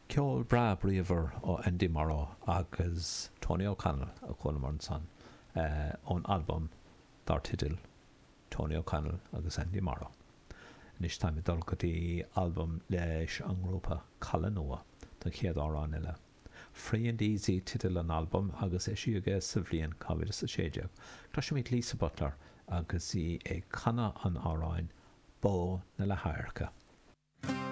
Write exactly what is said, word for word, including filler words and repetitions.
Ceol breá bríomhar ó Andy Morrow agus Tony O'Connell a chualamar ansan ón albam dar teideal Tony O'Connell agus Andy Morrow. Anois táim ag dul go dtí albam leis an ngrúpa Caladh Nua don chéad amhrán eile. Free and Easy teideal an albaim agus eisíodh é sa bhliain dhá mhíle is a sé déag. Cloisimid Lisa Butler agus í ag canadh an amhráin Bó na Leathadhairce.